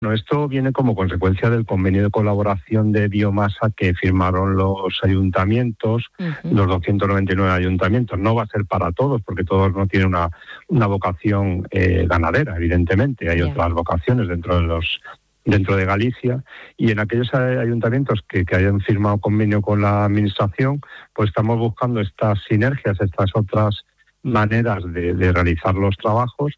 Bueno, esto viene como consecuencia del convenio de colaboración de biomasa que firmaron los ayuntamientos, los 299 ayuntamientos. No va a ser para todos, porque todos no tienen una vocación ganadera, evidentemente. Hay otras vocaciones dentro de Galicia, y en aquellos ayuntamientos que hayan firmado convenio con la administración, pues estamos buscando estas sinergias, estas otras maneras de realizar los trabajos.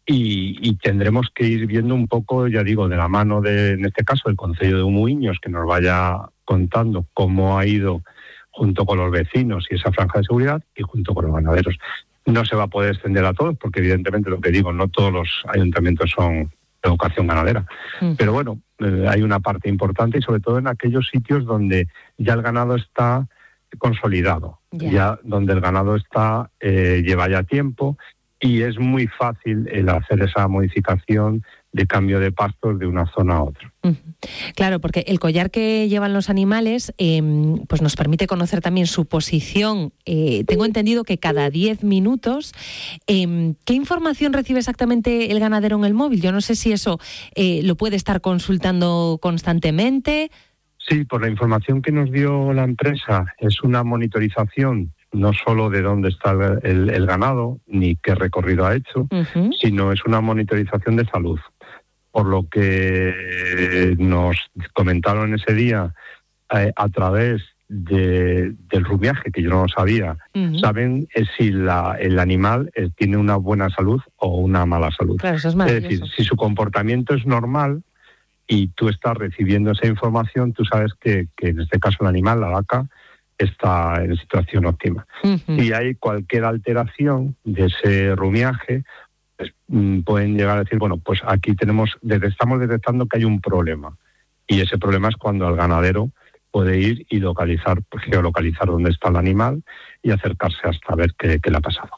Y tendremos que ir viendo un poco, ya digo, de la mano en este caso, del Concello de Umuiños, que nos vaya contando cómo ha ido junto con los vecinos y esa franja de seguridad, y junto con los ganaderos. No se va a poder extender a todos, porque evidentemente, lo que digo, no todos los ayuntamientos son de vocación ganadera. Pero bueno, hay una parte importante, y sobre todo en aquellos sitios donde ya el ganado está consolidado, ya donde el ganado está lleva ya tiempo, y es muy fácil el hacer esa modificación de cambio de pastos de una zona a otra. Claro, porque el collar que llevan los animales pues nos permite conocer también su posición. Tengo entendido que cada 10 minutos. ¿Qué información recibe exactamente el ganadero en el móvil? Yo no sé si eso lo puede estar consultando constantemente. Sí, por la información que nos dio la empresa, es una monitorización no solo de dónde está el ganado, ni qué recorrido ha hecho, sino es una monitorización de salud. Por lo que nos comentaron ese día, a través del rumiaje, que yo no lo sabía, saben si el animal tiene una buena salud o una mala salud. Claro, eso es maravilloso. Es decir, si su comportamiento es normal y tú estás recibiendo esa información, tú sabes que en este caso el animal, la vaca, está en situación óptima. Si hay cualquier alteración de ese rumiaje, pues, pueden llegar a decir, bueno, pues aquí estamos detectando que hay un problema, y ese problema es cuando el ganadero puede ir y geolocalizar dónde está el animal y acercarse hasta ver qué le ha pasado.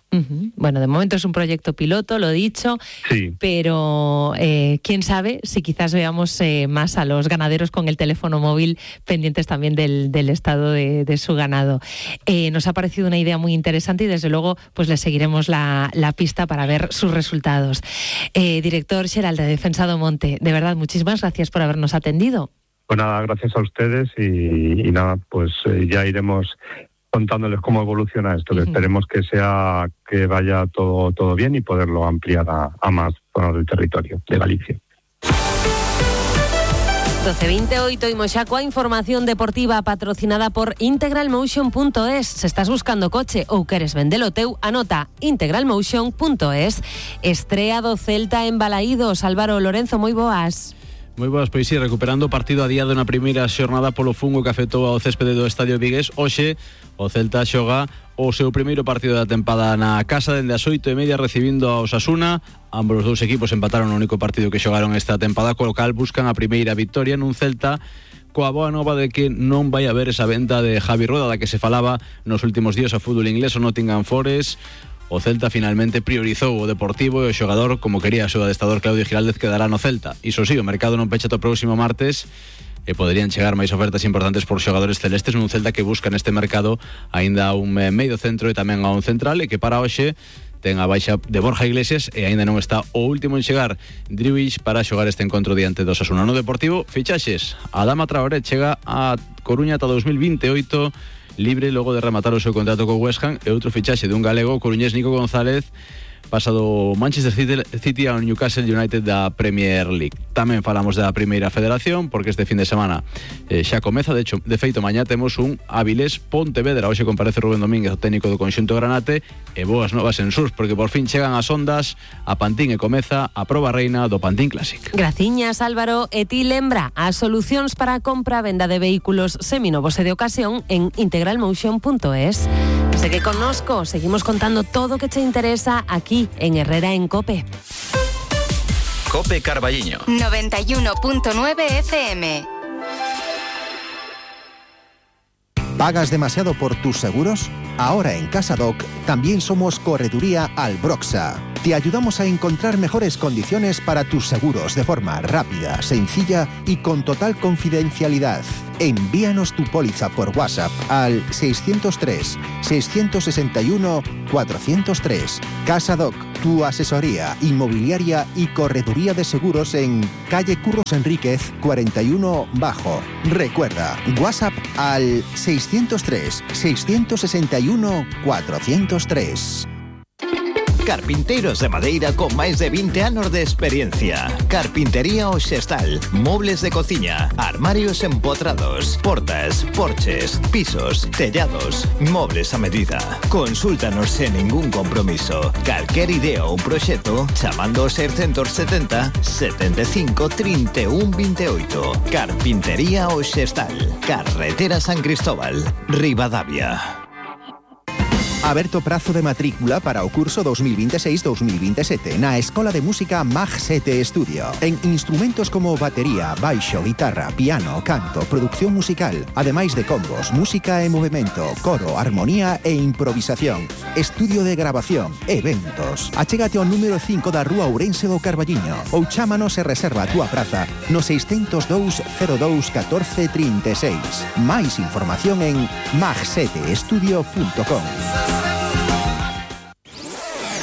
Bueno, de momento es un proyecto piloto, lo he dicho, sí. Pero quién sabe si quizás veamos más a los ganaderos con el teléfono móvil pendientes también del estado de su ganado. Nos ha parecido una idea muy interesante, y desde luego pues le seguiremos la pista para ver sus resultados. Director xeral de Defensa do Monte, de verdad, muchísimas gracias por habernos atendido. Pues nada, gracias a ustedes, y nada, pues ya iremos contándoles cómo evoluciona esto, que esperemos que vaya todo bien y poderlo ampliar a más zonas del territorio de Galicia. 12:28 y Moxacoa, información deportiva patrocinada por integralmotion.es. Se estás buscando coche ou queres vendelo teu, anota integralmotion.es. Estrea do Celta en Balaídos. Álvaro Lorenzo, moi boas. Moi boas, pois sí, recuperando o partido adiado na primeira xornada polo fungo que afectou ao céspede do Estadio Vigués. Hoxe o Celta xoga o seu primeiro partido da tempada na casa, dende as 8:30 recibindo a Osasuna. Ambos os dous equipos empataron o único partido que xogaron esta tempada, co local buscan a primeira victoria nun Celta coa boa nova de que non vai haber esa venta de Javi Rueda da que se falaba nos últimos días ao fútbol inglés. O Nottingham Forest, o Celta finalmente priorizou o Deportivo, e o xogador, como quería o seu adestador Claudio Giraldez, quedará no Celta. Iso sí, o mercado non pecha o próximo martes, e poderían chegar máis ofertas importantes por xogadores celestes nun Celta que busca neste mercado aínda un medio centro e tamén a un central, e que para hoxe ten a baixa de Borja Iglesias e aínda non está o último en chegar, Driouich, para xogar este encontro diante do Osasuna. No Deportivo, fichaxes. Adama Traoré chega a Coruña ata 2028, libre logo de rematar o seu contrato co West Ham, e outro fichaxe de un galego, o coruñés Nico González, pasado Manchester City ao Newcastle United da Premier League. Tamén falamos da Primeira Federación, porque este fin de semana xa comeza. De feito, mañá temos un Avilés Pontevedra. Hoxe comparece Rubén Domínguez, o técnico do conxunto granate, e boas novas en Surs, porque por fin chegan as ondas a Pantín e comeza a proba reina do Pantín Classic. Graciñas, Álvaro. E ti lembra as solucións para a compra e venda de vehículos seminovos e de ocasión en integralmotion.es. Segue connosco, seguimos contando todo o que te interesa aquí en Herrera en COPE. COPE Carballiño 91.9 FM. ¿Pagas demasiado por tus seguros? Ahora en CasaDoc también somos Correduría Albroxa. Te ayudamos a encontrar mejores condiciones para tus seguros de forma rápida, sencilla y con total confidencialidad. Envíanos tu póliza por WhatsApp al 603 661 403. CasaDoc, Tu asesoría inmobiliaria y correduría de seguros en calle Curros Enríquez 41 Bajo. Recuerda, WhatsApp al 603 661 403. Carpinteiros de madeira con máis de 20 anos de experiencia. Carpintería Oxestal, mobles de cociña, armarios empotrados, portas, porches, pisos, tellados, mobles a medida. Consúltanos sen ningún compromiso. Calquer idea ou proxecto chamando ao 670 75 31 28. Carpintería Oxestal, Carretera San Cristóbal, Ribadavia. Aberto prazo de matrícula para o curso 2026-2027 na Escola de Música Mag 7 Estudio. En instrumentos como batería, baixo, guitarra, piano, canto, producción musical, ademais de combos, música e movimento, coro, armonía e improvisación, estudio de grabación, eventos. Achégate ao número 5 da Rúa Ourense do Carballiño ou chámanos e reserva a túa praza no 602 02 14 36. Máis información en mag7estudio.com.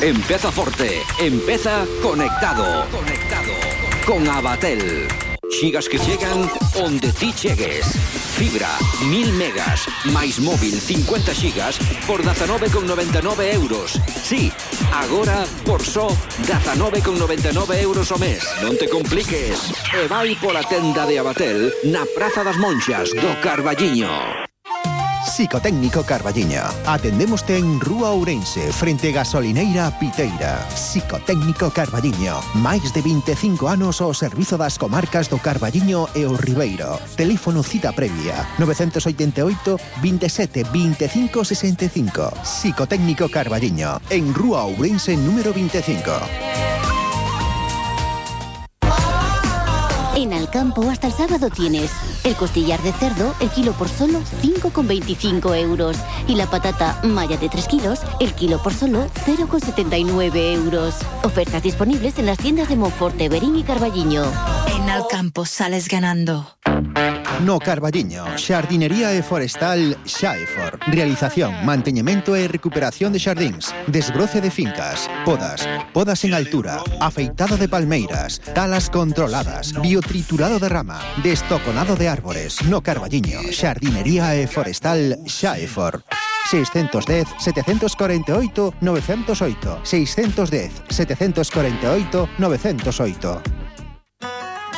Empeza forte, empeza conectado. Con Abatel. Xigas que chegan onde ti chegues. Fibra, 1000 megas, máis móvil 50 xigas por 19,99 euros. Sí, agora por só 19,99 euros o mes. Non te compliques. E vai pola tenda de Abatel na Praza das Monxas do Carballiño. Psicotécnico Carballiño. Atendémoste en Rúa Ourense, frente Gasolineira Piteira. Psicotécnico Carballiño. Máis de 25 anos ao servizo das comarcas do Carballiño e o Ribeiro. Teléfono cita previa 988 27 25 65. Psicotécnico Carballiño. En Rúa Ourense número 25. En Alcampo hasta el sábado tienes el costillar de cerdo, el kilo por solo 5,25 euros. Y la patata malla de 3 kilos, el kilo por solo 0,79 euros. Ofertas disponibles en las tiendas de Monforte, Berín y Carballiño. En Alcampo sales ganando. No Carballiño, Xardinería e Forestal Xaefor. Realización, manteñemento e recuperación de xardíns, desbroce de fincas, podas en altura, afeitado de palmeiras, talas controladas, biotriturado de rama, destoconado de árbores. No Carballiño, Xardinería e Forestal Xaefor. 610 748 908. 610 748 908.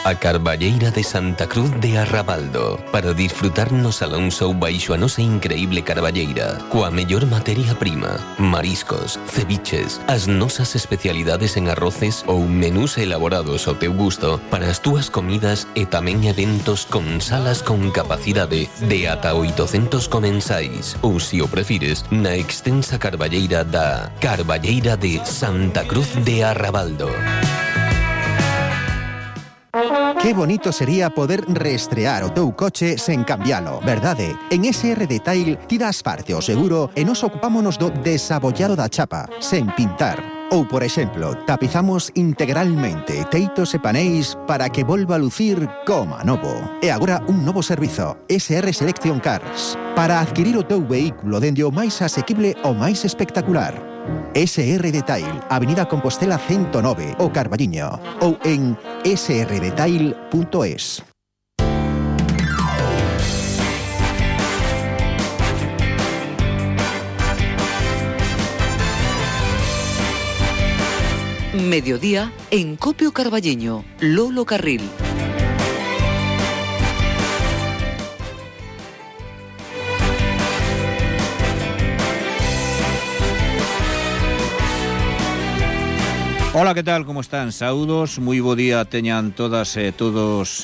A Carballeira de Santa Cruz de Arrabaldo, para disfrutar no Salón Show baixo a nosa increíble carballeira, coa mellor materia prima, mariscos, ceviches, as nosas especialidades en arroces ou menús elaborados ao teu gusto para as túas comidas e tamén eventos con salas con capacidade de ata 800 comensais, ou se o prefires, na extensa carballeira da Carballeira de Santa Cruz de Arrabaldo. Qué bonito sería poder reestrear o teu coche sen cambialo, verdade? En SR Detail ti das parte ao seguro e nos ocupámonos do desabollado da chapa, sen pintar. Ou, por exemplo, tapizamos integralmente teitos e paneis para que volva a lucir como novo. E agora un novo servizo, SR Selection Cars, para adquirir o teu vehículo dende o máis asequible ao máis espectacular. SR Detail, Avenida Compostela 109, o Carballiño, ou en srdetail.es. Mediodía en Copio Carballiño, Lolo Carril. Hola, ¿qué tal? ¿Cómo están? Saúdos, moi bo día teñan todas e todos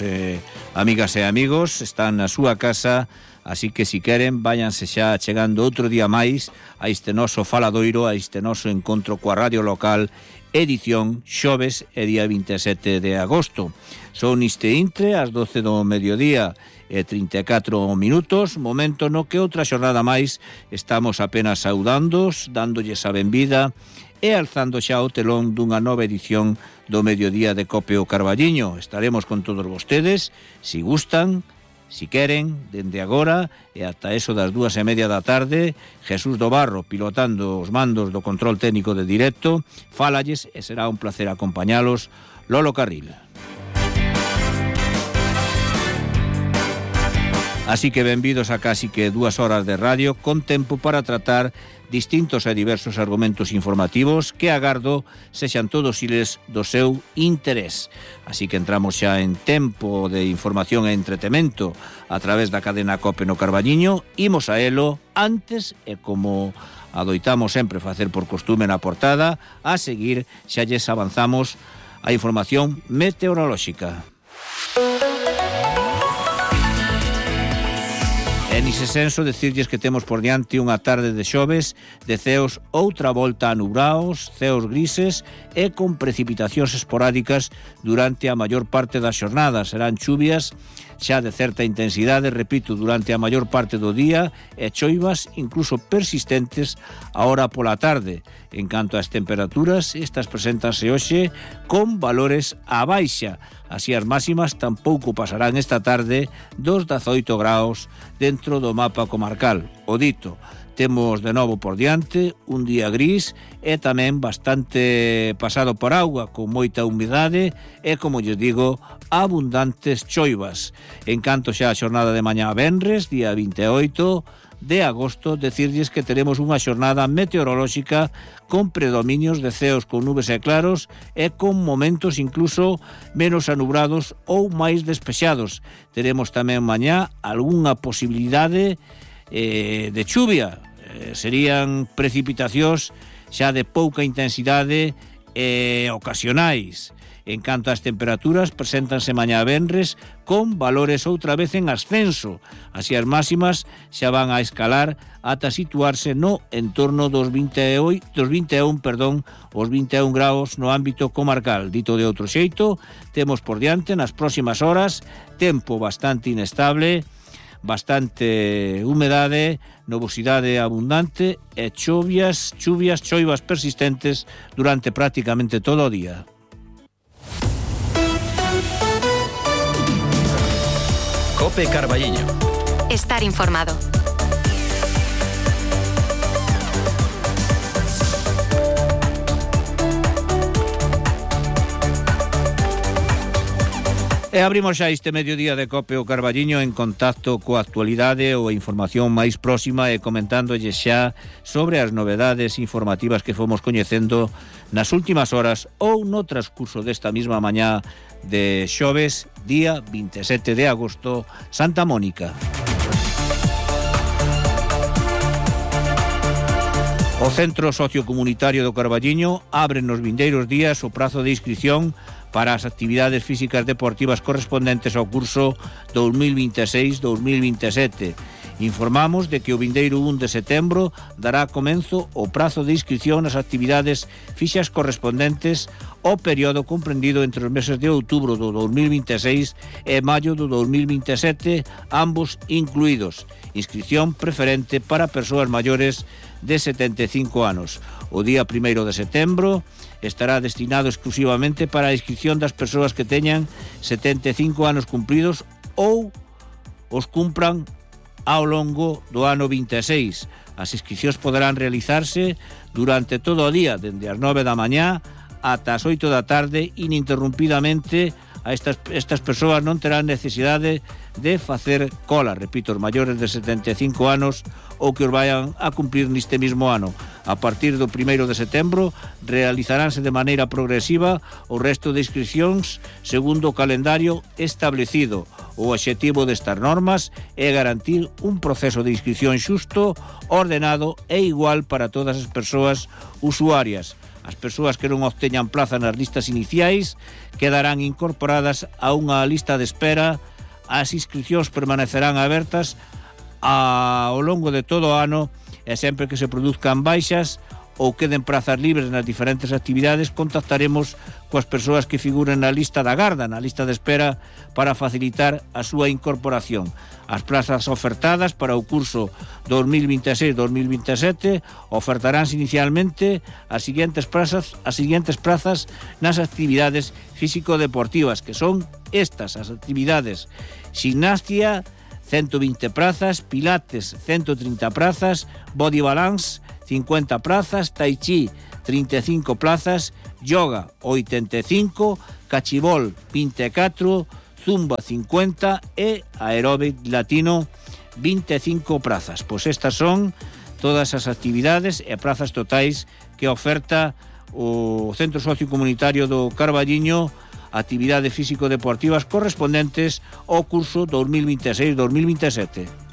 amigas e amigos. Están na súa casa, así que si queren, váyanse xa chegando outro día máis a este noso faladoiro, a este noso encontro coa radio local, edición xoves e día 27 de agosto. Son este intre, ás 12 do mediodía e 34 minutos, momento no que outra xornada máis estamos apenas saudándos, dándolles a benvida e alzando xa o telón dunha nova edición do Mediodía de Copio Carballiño. Estaremos con todos vostedes, si gustan, Si queren, dende agora e ata eso das 2:30 da tarde, Jesús do Barro, pilotando os mandos do control técnico de directo, fálalles e será un placer acompañalos. Lolo Carril. Así que benvidos a casi que 2 horas de radio con tempo para tratar distintos e diversos argumentos informativos que agardo sexan todos iles do seu interés. Así que entramos xa en tempo de información e entretemento a través da cadena COPE no Carballiño. Imos a elo antes e como adoitamos sempre facer por costume na portada, a seguir xa lles avanzamos a información meteorolóxica. En ese senso, decirlles que temos por diante unha tarde de xoves, de ceos outra volta a nubraos, ceos grises e con precipitacións esporádicas durante a maior parte da xornada. Serán chuvias xa de certa intensidade, repito, durante a maior parte do día e choivas incluso persistentes a hora pola tarde. En canto ás temperaturas, estas preséntanse hoxe con valores a baixa. Así as máximas tampouco pasarán esta tarde dos 18 graus dentro do mapa comarcal. O dito, temos de novo por diante un día gris e tamén bastante pasado por auga, con moita humidade e, como lles digo, abundantes choivas. En canto xa a xornada de mañá venres, día 28 de agosto, decirlles que teremos unha xornada meteorolóxica con predominios de ceos con nubes e claros e con momentos incluso menos anubrados ou máis despexados. Teremos tamén mañá algunha posibilidade de chuvia. Serían precipitacións xa de pouca intensidade e ocasionais. En canto ás temperaturas, preséntanse mañá venres con valores outra vez en ascenso. Así as máximas xa van a escalar ata situarse no entorno dos 21 graus no ámbito comarcal. Dito de outro xeito, temos por diante nas próximas horas tempo bastante inestable, bastante humedade, nubosidade abundante e choivas persistentes durante prácticamente todo o día. COPE Carballiño. Estar informado. E abrimos xa este mediodía de COPE o Carballiño en contacto coa actualidade ou a información máis próxima e comentándolle xa sobre as novedades informativas que fomos coñecendo nas últimas horas ou no transcurso desta mesma mañá de xoves, día 27 de agosto, Santa Mónica. O Centro Sociocomunitario do Carballiño abre nos vindeiros días o prazo de inscrición para as actividades físicas deportivas correspondentes ao curso 2026-2027. Informamos de que o vindeiro 1 de setembro dará comenzo o prazo de inscripción nas actividades fixas correspondentes ao período comprendido entre os meses de outubro do 2026 e maio do 2027, ambos incluídos. Inscripción preferente para persoas maiores de 75 anos. O día 1 de setembro estará destinado exclusivamente para a inscripción das persoas que teñan 75 anos cumpridos ou os cumpran ao longo do ano 26. As inscripcións poderán realizarse durante todo o día, dende as 9 da mañá ata as 8 da tarde, ininterrumpidamente. A estas persoas non terán necesidade de facer cola, repito, os maiores de 75 anos ou que os vayan a cumprir neste mismo ano. A partir do 1 de setembro realizaránse de maneira progresiva o resto de inscripcións segundo o calendario establecido. O obxectivo destas normas é garantir un proceso de inscripción xusto, ordenado e igual para todas as persoas usuarias. As persoas que non obteñan plaza nas listas iniciais quedarán incorporadas a unha lista de espera. As inscripcións permanecerán abertas ao longo de todo o ano e sempre que se produzcan baixas ou queden prazas libres nas diferentes actividades, contactaremos coas persoas que figuren na lista da garda, na lista de espera, para facilitar a súa incorporación. As plazas ofertadas para o curso 2026-2027 ofertaránse inicialmente as seguintes plazas nas actividades físico-deportivas, que son estas, as actividades: gimnasia, 120 plazas, pilates 130 plazas, body balance 50 plazas, tai chi 35 plazas, yoga 85, cachibol 24, zumba 50 e aeróbic latino 25 plazas. Pois estas son todas as actividades e plazas totais que oferta o Centro Sociocomunitario do Carballiño, actividades físico-deportivas correspondentes ao curso 2026-2027.